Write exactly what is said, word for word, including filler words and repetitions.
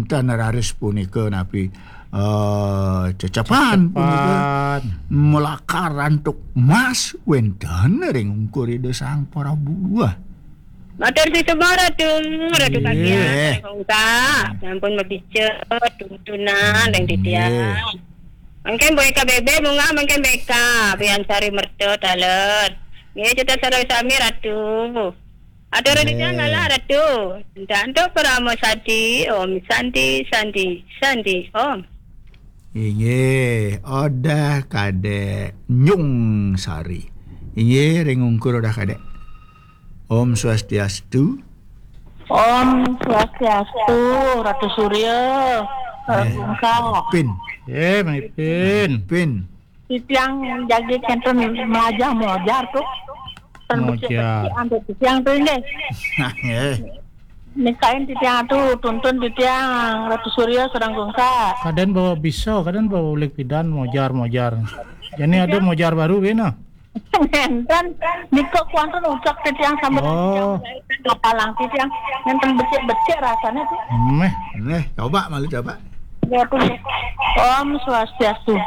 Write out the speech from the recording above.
tan raris punika napi, eh, cecapan punika. Cecapan. Melakar antuk mas wenten ring ungkur Ida Sang Prabu. Wah. Matur suksma Ratu, Ratu Kaki. Nggih. Kongka. Sampun mapica tuntunan ring titiang. Nggih. Mangkin boya K B B bungah, mangkin B K, Bian Sari Merta taler. Nggih, kita sareng sami Ratu. Atur titiang. Nggih. Ngalah Ratu. Dantuk Parama Santi, Om Santi, Santi, Santi, Om. Inggih, Odah Kadek Nyung Sari. Inggih, ring ungkur Odah Kadek. Om Swastiastu. Om Swastiastu, Ratu Surya. Eh, Ratu Ungkal. Pin. Eh, Mami Pin. Pin. Titiang jagi kenten melajah mojar tuh. Ten mojar. Becik-becik antuk titiang tuh, nggih. Eh. Nikain titiang tuh, tuntun titiang Ratu Surya sedang gungsa. Kadén bawa bisa, kadén bawa ulik pidan mojar-mojar. Jadi ada mojar baru, bina. Enten, nika kuantun ucap titiang sambil. Oh. Kapalang titiang, enten becik-becik rasanya tuh. Meh. Nggih, coba malu coba. Ya, tuh. Om Swastiastu.